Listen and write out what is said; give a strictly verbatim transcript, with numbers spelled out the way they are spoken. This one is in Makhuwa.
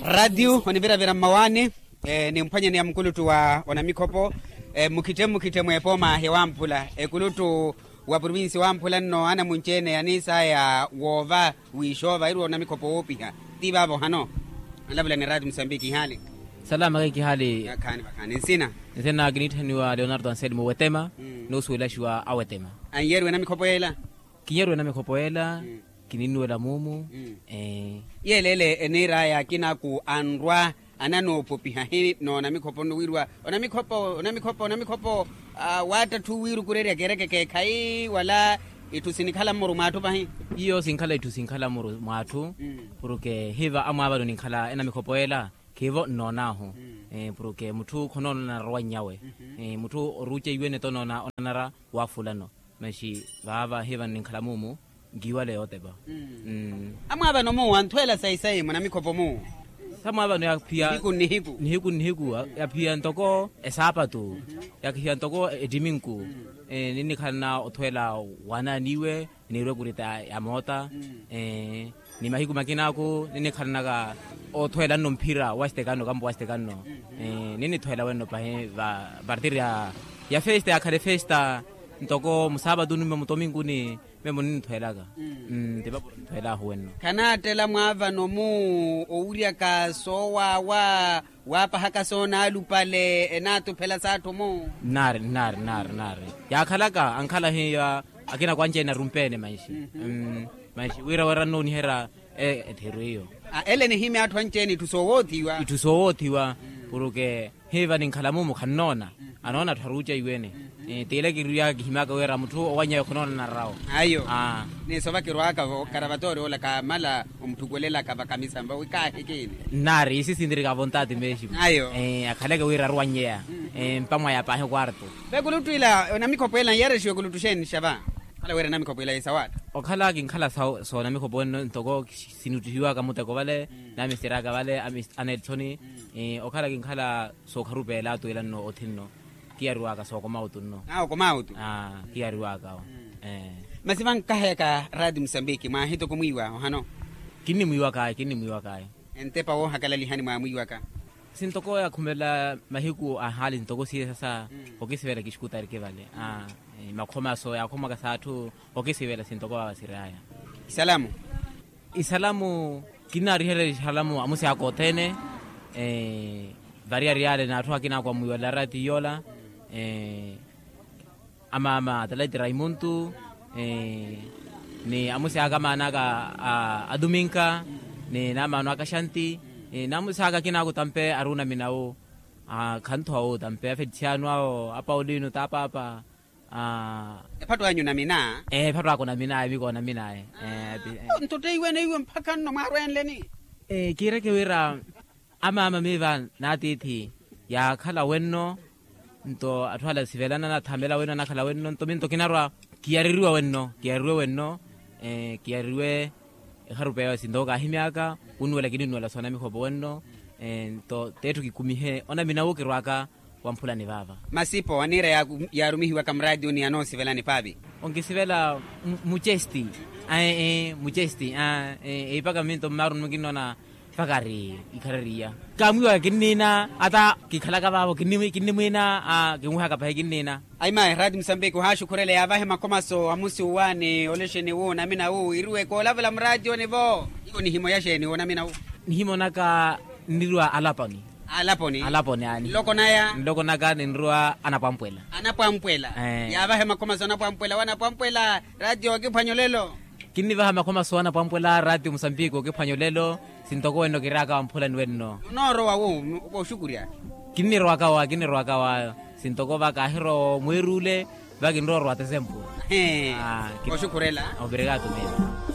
Ratio oniviravira mmawaani, nimphwanyeni ya mukuluttu wa onamikhopo, mukhitte mukhitte mweepooma hewamphula ekuluttu wa provinsi wamphula nno anamunci-ene yaniisaya woova wiixoova iriwa onamikhopo woopiha. Ti vaavo hano? Alavula ni ratio musambiki ihaali. Salama khayi kihaali. Khaani vakhaani nsina? Nsina kiniitthaniwa leonardo anselmo wetema. Noosuwelaxiwa awetema. Anyeeriwe namikhopo yeela? Kinyeeriwe namikhopo yeela. Kininnuwela muumu. Yeeleele eniir'aya akina aku anrwa ananoopopiha hi noonamikhopo nno wiiriwa onamikhopo onamikhopo onamikhopo. Waattatthu wiirukurerya keereke keekhayi wala itthu sinikhala mmuru mw'atthu pahi? Iyo sinkhala itthu sinkhala mmuru mw'atthu. Porke hiiva amwaavano ninkhala enamikhopo yeela khiivo nnoon'ahu. Porke mutthu khonoonana rowa nnyawe. Mutthu oruuce iwene tonoona onanara waafulano. Maxi vaava hiivano ninkhala muumu nkiiwale yootepa. Amwaavano mu anthweela sayi-sayi munamikhopo mu? Samwaavano yaphiya nihiku nnihiku yaphiya ntoko esaapatu. Yaphiya ntoko ettiminku. Ninnikhalana othweela waanaaniwe niirwe ekurita ya moota. Ni mahiku makina aku ninnikhalanaka othweela nno mphira wa sitekanno kampo wa sitekanno. Ninnithweela wenno pahi va partir ya festa yakhale festa ntoko musaapatuni mmo mutominkuni. Memo ninnithweelaka. Ntipapo ninthweelahu wenno. Khanaattela mwaavano mu owiryaka soowaawa waapahaka soonaalupale enaatuphela s'atthu mu? Nnaari nnaari nnaari nnaari. Yaakhalaka ankhala hiya akina kwanci-ene arumpeene manxi. Manxi wira wira nnooniherya ettheru iyo. Ele nihimya atthu anci-ene itthu soowoothiwa itthu soowoothiwa. Porke hiiva ninkhala muumu khannoona anoona atthu aruuca iwene. Tiile kiriwaka kihimyaka wira mutthu owanyawe khonoonana rawo. Ayo. Ni sova kirwaka-vo okaravatoori ola kaamala omutthukwelelaka vakamisamva wi kaahi kiini. Nnaari isi sintirika vontaati meximu. Ayo. Akhaleke wira aruwanyeya mpamwaya paahi okwarto. Vekuluttwila onamikhopo ela nyerexiwe kuluttu xeeni xava? Okhala wira enamikhopo ela yisawaatta. Okhala kinkhala soonamikhopo wenno ntoko sinuttihiwaka muteko vale. Namisteraka vale. Anelthoni. Okhala kinkhala sookharupeela atweela nno othi nno. Kiyariwaka sookoma otu nno. Kiyariwaka. Masi vankaheyaka raati musambiki mwaahitoko mwiiwa ohano? Kinnimwiiwakaya kinnimwiiwakaya. Entepa woohakalalihani mwaamwiiwaka? Sintoko yakhumela mahiku a haali ntoko siye sasa. Okisivela kixukutarike vale. Makhomaso yaakhomaka s'atthu okisivela sintoko vava sir'aya. Isalamu. Isalamu kinnaariherya isalamu amusi aka othene. Variyari yale n'atthu akina akwamwiwela raati yoola. Amaama atalaiti raimuntu ni amusi aka amaana aka a duminka ni n'amaano aka xanti ni amusi aka akina ako tampe ari onaminawu. Khanthowa wu tampe a felisiano awo a paulino t'apaapa. Ephatto anyu onamina? Ephatto aka onamina epiko onamina. Nto teiwene iwe mpakha nno mwaarwenleni. Kiireke wira amaama miiva n'atiithi yaakhala wenno. Nto atthu ala sivelana anathamela wenno anakhala wenno nto minto kinarwa kiyareriwa wenno kiyareriwe wenno. Kiyareriwe ekharupeya sintoko kaahimyaka. Kunnuwela kinnuwela soonamikhopo wenno. Nto t'etthu kikumihe onaminawu kirwaka wamphulani vaava. Masipo aniira yaarumihiwaka muraatiyoni anoosivelani paapi? Onkisivela mucesti. Mucesti. Eipaka minto mmaaruni mukinnoona mpakha ari ikharariya. Kaamwiiwaka kinniina ata kikhalaka vaavo kinnimwiina. Kinwihaka pahi kinniina. Ayi mayi raati musambiki ohaaxukhurela yaavahe makhomaso amusi uwa ni olexeni wu onamina wu iriwe koolavula muraatiyoni-vo? Iwo nihimoya xeeni wonamina wu? Nihimonaka niriwa alaponi. Alaponi. Alaponi aani nloko naya nloko naka ninriwa anapwampwela. Anapwampwela. Yaavahe makhomaso anapwampwela wanapwampwela. Raatiyo okiphwanya olelo. Kinnivaha makhomaso anapwampwela raatiyo musambiki okiphwanya olelo. Sintoko wenno kiraaka wamphulani wenno. Onoorowa wu kooxukurya. Kinnirowaka wa kinnirowaka wa sintoko va kaahirowa omweer'ule. Va kinrowa orwa tesempu. Oxukhurela. Obrigado mene.